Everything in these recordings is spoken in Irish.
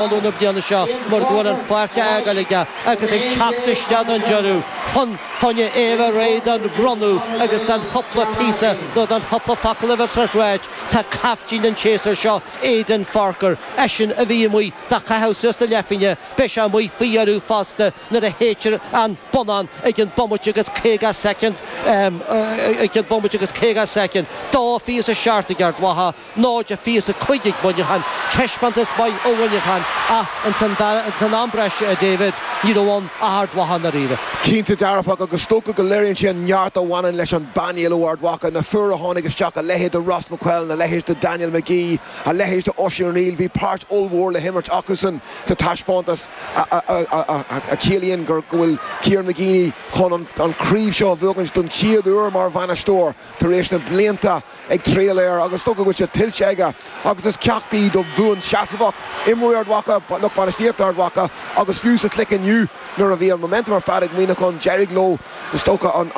Uladh na bliana seo mar go bhfuil an pháirc á fhágáil aige agus ag teacht isteach don deireadh chun fá choinne é a bheith réidh don bhronnadh agus don chúpla píosa nó don chúpla focal a bheas le ráit. Tá caiftín an tséasúir seo, Aidan Forker, eisean a bhí amuigh do chaitheamh suas na leathphingne, beidh sé amuigh faoi dheireadh fosta nuair a shéidtear an bonnán ag an bomaite agus 50 soicind ag an bomaite agus 50 soicind. 2-27 ag Ard Mhacha. 0-25 ag Muineachán. Taispeántas maith ó Mhuineachán ach ins an am breise, a David, ní raibh ann ach Ard Mhacha i ndáiríre. Cinnte dearfach agus is dócha go léiríonn sé an neart a bhaineann leis an bpainéal ó Ard Mhacha, na fir a tháinig isteach, a leithéid de Ross McQuillan, a leithéid de Daniel McGee, a leithéid de Oisín O'Neill, bhí páirt ollmhór le himirt acusan sa taispeántas a chiallaíonn go bhfuil Kieran McGeeney chun an chraobh seo a bhuachaint don chéad uair mar bhainisteoir tar éis na blianta ag triall air agus is dócha go bhfuil sé tuillte aige agus is ceacht í do bhuanseasmhacht imreoirí Ard Mhacha, lucht bainistíochta Ard Mhacha agus fiú sa chluiche inniu nuair a bhí an momentum ar fad ag Muineachán d'éirigh leo is dócha an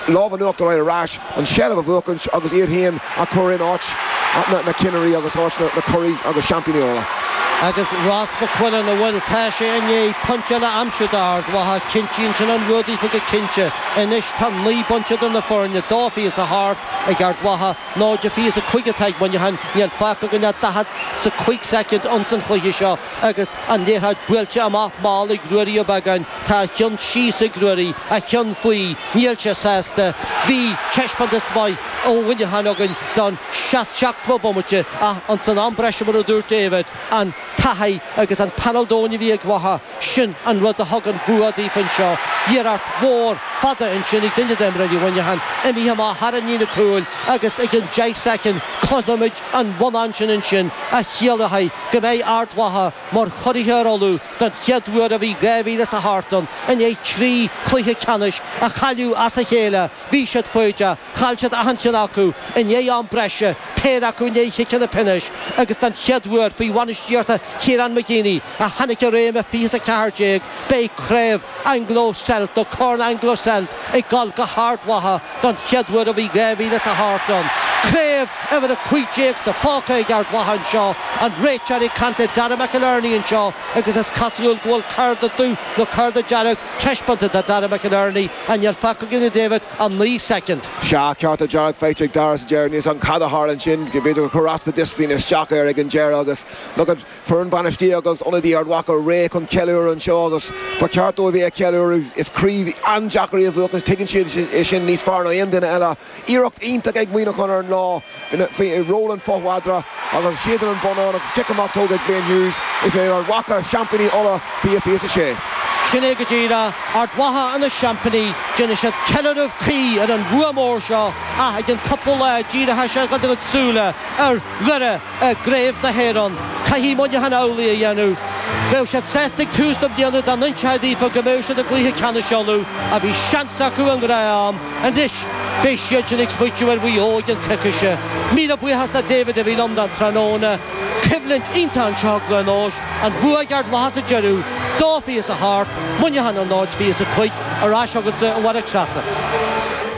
lámh in uachtar a fháil ar ais, an tseilbh a bhuachaint agus iad féin a chur in áit na cinnirí agus áit na curaidh agus seaimpíní Uladh. Agus Ross McQuillan, an bhfuil, tá sé i ndiaidh pointe eile a aimsiú d'Ard Mhacha, cinntíonn sin an bua daofa go cinnte. Anois tá 9 bpointe idir na foirne, 2-28. Ag Ard Mhacha, 0-25 atá ag Muineachán. Níl fágtha againn ach 45 soicind ins an chluiche seo agus an liathróid buailte amach mall ag Ruairí Ó Beagáin. Tá a cheann síos ag Ruairí, a cheann faoi. Níl sé sásta. Bhí taispeántas maith ó Mhuineachán againn don seachtmhadh bomaite ach ins an am breise mar a dúirt David, an taithí agus an painéal domhain a bhí ag Mhacha, Sin an rud a thug an bua daofa anseo. Iarracht mhór fada ansin ag duine d'imreoirí Mhuineacháin, imithe amach thar an líne cúil agus ag an 10 soicind cloisfimid an bonnán sin ansin a chiallóidh go mbeidh Ard Mhacha mar churaithe ar Uladh don chéad uair ó bhí 2008 ann i ndiaidh 3 chluiche ceannais a chailleadh as a chéile. Bhí siad foighdeach, chaill siad achan cheann acu i ndiaidh am breise, péire acu i ndiaidh chiceanna pionóis agus don chéad uair faoi bhainistíocht Kieran McGeeney, a tháinig i réim i 20 is 14, beidh craobh Anglo Celt nó Corn Anglo Celt ag dul go hArd Mhacha don chéad uair ó bhí 2008 ann. Craobh uimhir 15 sa phóca ag Ard Mhacha anseo, an réiteoir ag caint le Dara McInerney anseo agus is cosúil go bhfuil cárta dubh nó cárta dearg taispeánta do Dara McInerney ach níl fágtha againn a David ach 9 soicind. Sea, cárta dearg faighte ag Dara sa deireadh. Níl 's agam cad a tharla ansin, b'fhéidir gur chuir easpa disciplín isteach air ag an deireadh agus look at Foireann bainistíochta agus ionadaí Ard Mhacha réidh chun ceiliúradh anseo agus ba cheart dóibh é a cheiliúradh. Is craobh an-deacair í a bhuachaint, tuigeann siad é sin níos fearr ná aon duine eile. Iarracht iontach ag Muineachán ar an lá faoi ról an fothmhadra agus séideann an bonnán agus cic amach tógtha ag Blaine Hughes. Is é Ard Mhacha seaimpíní Uladh 20 26. Sin é go díreach, Ard Mhacha ina seaimpíní, déanfaidh siad ceiliúradh cuí ar an bhua mór seo ach i gceann cúpla lá díreoidh siad a gcuid súile ar Dhoire. i gCraobh na hÉireann. Caithfidh Muineachán amhlaidh a dhéanamh. Bheadh siad sásta ag tús na bliana dá n-inseofaí daofa go mbeadh siad i gcluiche ceannais Uladh ach bhí seans acu i ngnáth-am. Anois beidh siad sin ag smaoitiú ar Mhaigh Eo i gceann coicíse. Míle buíochas le David a bhí liom don tráthnóna. Coimhlint iontach anseo i gCluain Eois. An bua ag Ard Mhacha sa deireadh. 2-28, Muineachán 0-25. Ar ais chugatsa a Mháire Treasa.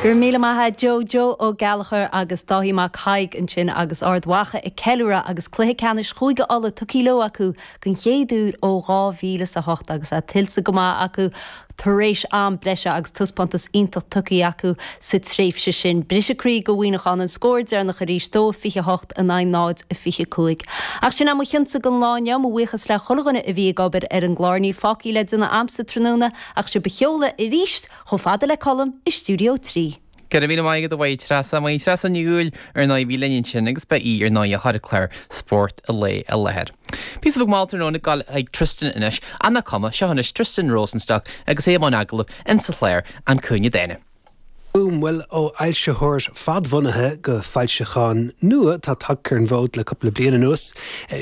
Go raibh míle maith a't Joe, Joe Ó Gallchóir agus Dáithí Mac Thaidhg ansin agus Ard Mhacha ag ceiliúradh agus cluiche ceannais Chúige Uladh tugtha leo acu den chéad uair ó 2008 agus é tuillte go maith acu tar éis am breise agus taispeántas iontach tugtha acu sa tréimhse sin. Briseadh croí do Mhuineachán an scór deireanach arís, 2-28 in aghaidh 0-25. Ach sin é mo chionnsa don lá inniu, mo bhuíochas le chuile dhuine a bhí ag obair ar an gclár. Níl fágtha le déanamh a'msa tráthnóna ach sibh a sheoladh arís chomh fada le Colm i Stiúideo 3. Go raibh míle maith agat a Mháire Treasa. Máire Treasa Ní Dhubhghaill ar ndóigh a bhí linn ansin agus ba í ar ndóigh a chuir clár Spórt an Lae i láthair. Píosa beag mall tráthnóna ag dul chuig Tristan anois, ach nach cuma, seo anois Tristan Rosenstock agus é i mbun agallaimh insa chlár An Cúinne Dána. Bhuel, ó fhoilsitheoir fadbhunaithe go foilseachán nua atá tagtha ar an bhfód le cúpla bliain anuas,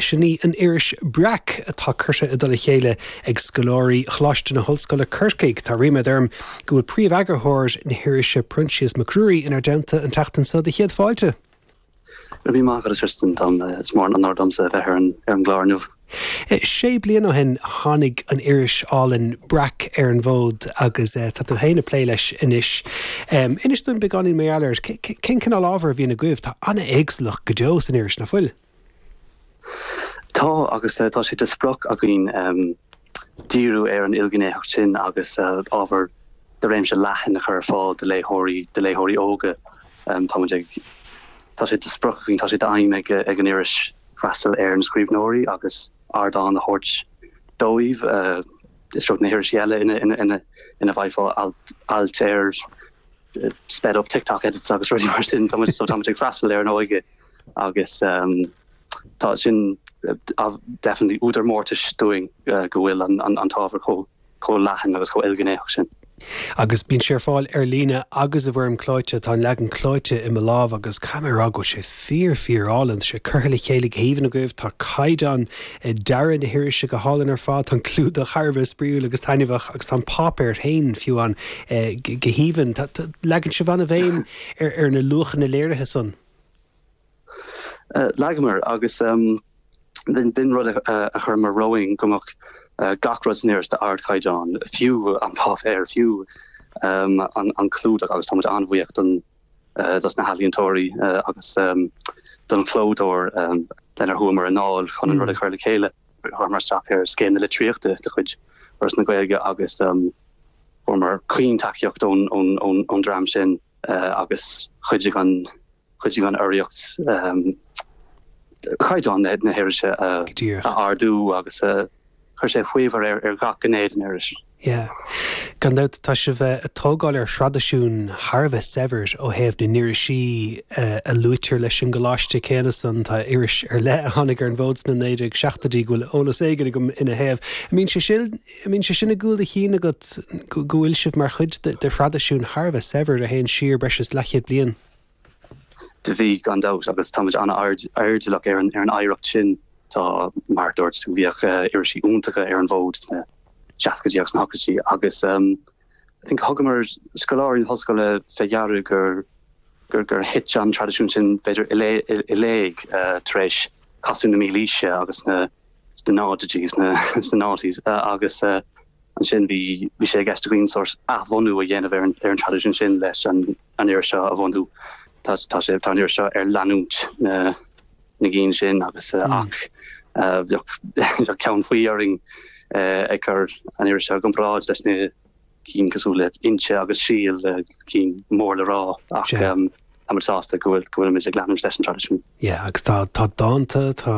sin í an iris Breac atá curtha i dtoll a chéile ag scoláirí Choláiste na hOllscoile Corcaigh. Tá ríméad orm go bhfuil príomh-eagarthóir na hirise Proinsias Mac Ruairí inár dteannta an tseachtain seo do chéad fáilte. Go raibh míle maith agat a Tristan, tá is mór an onóir domsa a bheith ar an ar an gclár inniu. Sé bliana ó shin tháinig an iris álainn Breac ar an bhfód agus tá tú féin ag plé leis anois. Inis dúinn beagáinín mar gheall air. Cén cineál ábhair a bhíonn agaibh? Tá an-éagsúlacht go deo san iris, nach bhfuil? Tá, agus tá sé de sprioc againn díriú ar an ilghnéitheacht sin agus ábhar de réimse leathan a chur ar fáil do léitheoirí, do léitheoirí óga. Táimid ag, tá sé de sprioc againn, tá sé d'aidhm ag an iris freastal ar na scríbhneoirí agus ardán a thabhairt dóibh. Is beag na hirisí eile ina bhfaighfeá ailt ar sped up TikTok edits agus rudaí mar sin. Táimid, so táimid ag freastal ar an óige agus tá sin definitely údar mórtais dúinn go bhfuil an t-ábhar chomh leathan agus chomh ilghnéitheach sin. Agus bíonn sé ar fáil ar líne agus i bhfoirm clóite. Tá an leagan clóite i mo lámh agus caithfidh mé a rá go bhfuil sé fíor, fíor álainn. Tá sé curtha le chéile go haoibhinn agaibh. Tá caighdeán dearaidh na hirise go hálainn ar fad. Tá an clúdach thar a bheith spraíúil agus taitneamhach agus tá an páipéar féin, fiú amháin, go haoibhinn. Leagann sibh an-bhéim ar na luachanna léirithe san. Leagamar agus b'in rud a chuireamar romhainn go mbeadh gach rud san iris d'ardchaighdeán, fiú an páipéar, fiú an clúdach agus táimid an-bhuíoch don dos na healaíontóirí agus don chlódóir lenar chuamar i ndáil chun an rud a chur le chéile. Chuireamar isteach ar Scéim na Litríochta de chuid Fhoras na Gaeilge agus fuaireamar caointacaíocht ón dream sin agus chuidigh an Chuidigh an urraíocht caighdeán na hirise a ardú agus chuir sé faobhar ar gach gné den iris. Yeah. Gan dabht, tá sibh ag tógáil ar thraidisiún thar a bheith saibhir ó thaobh na n-irisí a luaitear leis an gcoláiste céanna san. Tá iris ar leith a tháinig ar an bhfód sna 1970idí go bhfuil eolas éigin agam ina thaobh. An mbíonn sé sin, an mbíonn sé sin i gcúl do chinn agat go bhfuil sibh mar chuid de thraidisiún thar a bheith saibhir a théann siar breis is leathchéad bliain? Do bhí, gan dabht, agus táimid an-airdeallach ar an oidhreacht sin. Tá, mar a dúirt tú, bhíodh irisí iontacha ar an bhfód sna seascaidí agus sna hochtóidí agus I think thugamar, scoláirí na hollscoile, fé deara gur gur thit an traidisiún sin b'fhéidir i léig tar éis casadh na mílaoise agus na sna náididí, sna noughties agus ansin bhí bhí sé i gceist againn sórt athbhunú a dhéanamh ar an ar an traidisiún sin leis an an iris seo a bhunú. Tá tá sé tá an iris seo ar leanúint na na gcinn sin agus ach bheadh bheadh ceann faoi orainn ag cur an iris seo i gcomparáid leis na cinn cosúil le Innti agus Síol, cinn mór le rá ach táimid sásta go bhfuil go bhfuilimid ag leanúint leis an traidisiún. Yeah, agus tá tá dánta, tá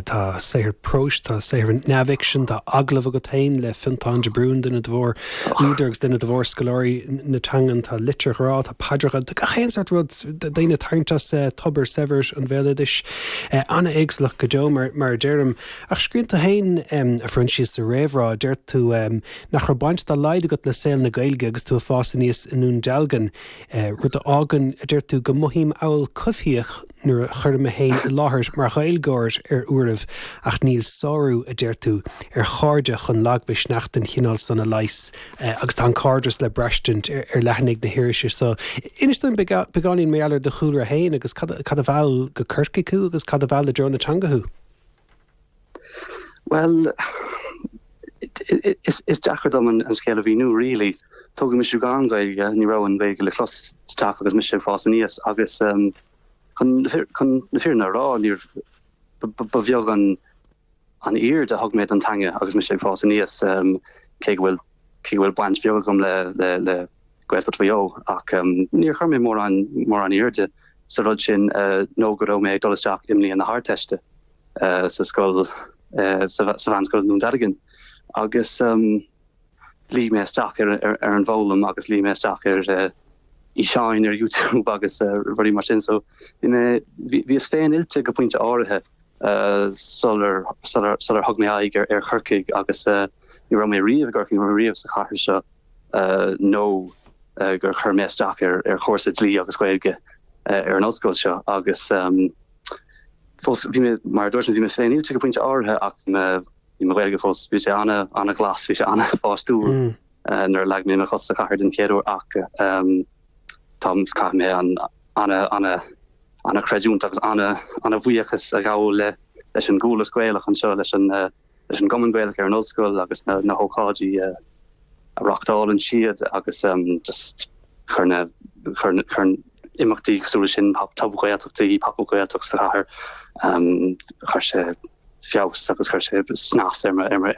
tá saothar próis, tá saothar neamhfhicsin, tá agallamh agat féin le Fionntán de Brún, duine de mhór údair agus duine de mhór scoláirí na teangan, tá litir ghrá, tá paidreacha, tá gach aon sórt rud, daoine ag tarraingt as tobar saibhir an bhéaloidis. An-éagsúlacht go deo mar mar a deirim. Ach scríobhann tú féin, a Phroinsias, sa réamhrá, deir tú, Nach raibh baint dá laghad agat le saol na Gaeilge agus tú ag fás aníos i nDún Dealgan, rud a fhágann, a deir tú, go mothaím amhail coimhthíoch nuair a chuirim mé féin i láthair mar Ghaeilgeoir ar uairibh, ach níl sárú, a deir tú, ar chairde chun lagmhisneach den chineál san a leigheas. Agus tá an cairdeas le braistint ar leathanaigh na hirise so. Inis dúinn beagáinín mar gheall ar do chúlra féin agus cad a mheall go Corcaigh thú agus cad a mheall i dtreo na teanga thú? Bhuel, is deacair dom an scéal a mhíniú really. Tógadh mise gan Ghaeilge, ní raibh an Ghaeilge le clos sa teach agus mise ag fás aníos agus chun na fírinne a rá, níor, ba bheag an aird a thug mé don teanga agus mise ag fás aníos, cé go bhfuil, cé go bhfuil baint bheag agam le, le, le Gaeltacht Mhaigh Eo ach níor chuir mé mórán, mórán airde sa rud sin nó go raibh mé ag dul isteach i mbliain na hArdteiste. sa scoil, sa mheánscoil i nDún Dealgan agus luigh mé isteach ar an bhfoghlaim agus luigh mé isteach ar fhíseáin ar YouTube agus rudaí mar sin. So bhí mé, bhíos féin-oilte go pointe áirithe sular, sular, sular thug mé aghaidh ar Chorcaigh agus ní raibh mé riamh i gCorcaigh, ní raibh mé riamh sa chathair seo nó gur chuir mé isteach ar chúrsa dlí agus Gaeilge ar an ollscoil seo agus fós, bhí mé, mar a dúirt mé, bhí mé féin-oilte go pointe áirithe ach bhí mo, bhí mo Ghaeilge fós, bhí sé ana, ana-ghlas, bhí sé ana-pháistiúil nuair a leag mé mo chos sa chathair den chéad uair ach tá, caithfidh mé an ana, ana, ana-chreidiúint agus ana, ana-bhuíochas a ghabháil le, leis an gCualas Gaelach anseo, leis an, leis an gCumann Gaelach ar an ollscoil agus na, na hócáidí a, a reáchtálann siad agus just chuir na, chuir, chuir imeachtaí cosúil leis sin, Tob-Ghaeltachtaí, Pop-Up Gaeltacht sa chathair, chuir sé. feabhas agus chuir sé snas ar mo.